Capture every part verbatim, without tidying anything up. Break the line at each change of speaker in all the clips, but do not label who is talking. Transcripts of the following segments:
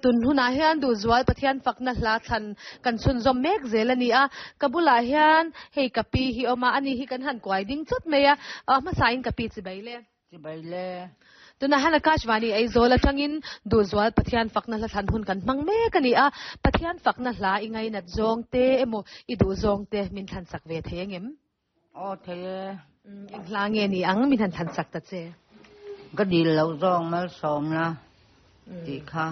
Tun hunah hian Duhzual Pathian fakna hla thlan kan chhunzawm mek zel a ni a, ka bulah hian hei ka pi hi awm a, ani hi kan han kuai ding chawt mai a, hmasain ka pi chibai le.
Chibai le.
Tunah hian Akashvani Aizawl atangin Duhzual Pathian fakna hla thlan hun kan hmang mek a ni a, Pathian fakna hla i ngainat zawng te emaw i duh zawng te min thlan sak ve thei angem?
Aw thei e.
Eng hla nge ni ang min han thlan sak ta che?
Ka dil loh zawng malsawmna tih kha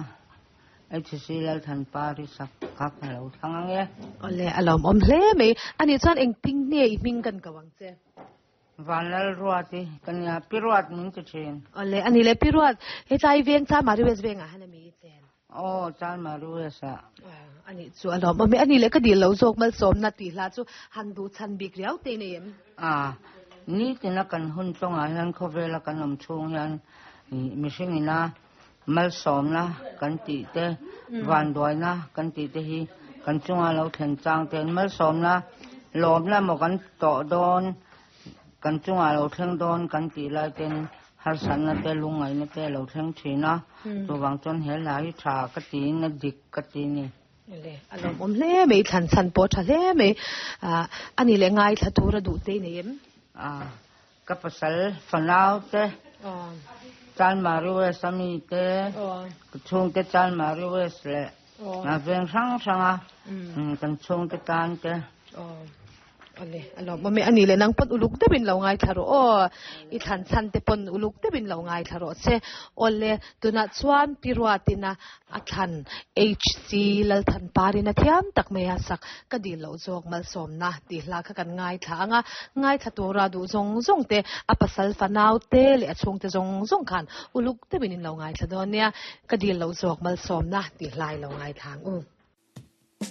HC Lalthanpari sak kha ka lo thlang ang e.
Awle, a lawmawm hle mai. Ani chuan engtin nge i hming kan ko ang che?
Vanlalruati ka nia, Pi Ruat min ti thin.
Awle, ani le Pi Ruat, hetlai veng Chanmari West vengah han a mi i chen?
Aw, Chanmari West ah.
Ani chu a lawmawm e. Ani le ka dil lo zawk malsawmna tih hla chu han duh chhan bik riau te nei em?
A, nitina kan hun tawngah hian khawvela kan awm chhung hian mihring ina malsawmna kan tih te, vanduaina kan tih te hi kan chunga lo thlen chang ten malsawmna lawmna emaw kan tawh dawn, kan chungah lo thleng dawn kan tih lai ten harsatna te lungngaihna te a lo thleng thin a, chuvang chuan he hla hi tha ka tiin a dik ka ti a ni.
Le, a lawmawm hle mai, thlan chhan pawh tha hle mai. A ni leh ngaithla tur a duh te i nei em?
A, ka pasal fanau te, Chanmari West a mi te, ka chhungte Chanmari West leh veng hrang hranga kan chhungte tan te.
Awle, a lawmawm e. A ni leh nang pawn uluk deuhin lo ngaithla rawh aw. I thlan chhan te pawn uluk deuhin lo ngaithla rawh che. Awle, tunah chuan Pi Ruatina a thlan HC Lalthanparin a thiam tak mai a sak ka dil loh zawk malsawmna tih hla kha kan ngaithla ang a. Ngaithla tura duh zawng zawng te, a pasal fanau te leh a chhungte zawng zawng khan uluk deuhin in lo ngaithla dawn nia. Ka dil loh zawk malsawmna tih hla i lo ngaithla ang u.